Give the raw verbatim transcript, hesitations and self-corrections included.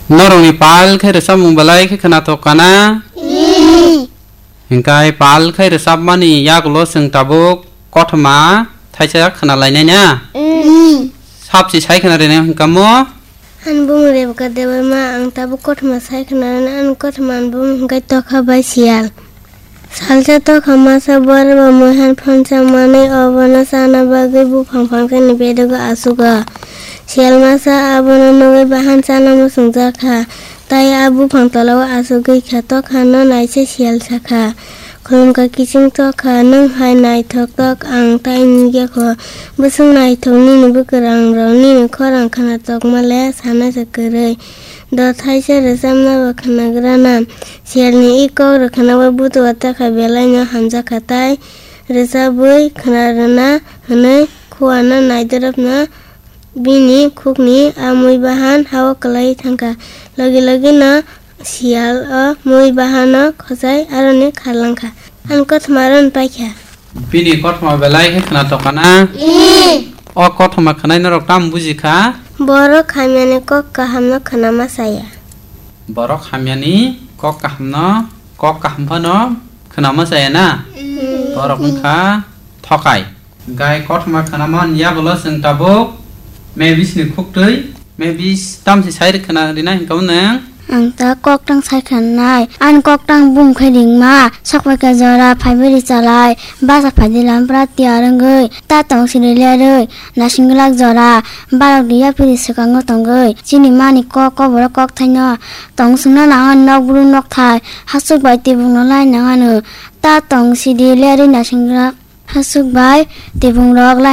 Norokni pal khe rwchapmung belai khe khwnathok kana? Hinkhe pal khe rwchapmani yagulo chwng tabuk kothoma thaisa khwnalainai na? Sapsi sai khwna rwnai hinkhe mo? Ani bumung Rebeka Debbarma, ang tabuk kothoma sai khwna rwnai, ani kothoma ani bumung hinkhe Tokha bai Siyal. Salsa Tokha masa borok bo muihan phonsa manwi obono chana bagwi buphang phangsa ni bedogo achugo. Siyal masa abono nugwi bahan chana muchungjakha, tai a buphang tolao achugwi kha. Tokha no naise Siyal sakha, "Khulumkha kiching Tokha, nwng hai naithok tok ang tai nukya kho. Bwswk naithok nini bwkrangrok, nini khorang khwna tokma le sanasa kwrwi. Do thaisa rwchapna bo khwnagrana." Siyalni i kok rwkhanao butua Tokha belaino hamjakha tai rwchabwi khwna rwna hwnwi khuano naidoropno bini khukni a mui bahan hao kwlaiwi thangkha. Logi logino Siyal o mui bahano khojai aroni kharlangkha. Ani kothoma aroni paikha. Bini kothoma belai khe khwnathok kana? O kothoma khwnai norok tamo bujikha? Borok hamyani kok kahamno khwnama chaya. Borok hamyani kok kahamno, kok kaham phano khwnama chaya na? Borok wngkha thokai. Gai kothoma khwnamani yagulo chwng tabuk mebisni khuktwi, mebis tamsi sai khwna rina hinkhe nwng? Ang ta koktang sai khwnanai, ani koktang bum khe ringma, sokphaikha jora phaibai ri chalai, basa phaidi lampra tiyar wngwi, ta tong siri lerwi, naising glak jora, barok di yaphiri swkango tongwi, chini mani kok koborok kokthaino, tong swngna nangani nokbru nokthai, hasuk bai tibukno lai nangano, ta tong sidi lerwi naising glak. Hasuk bai tibung rok lai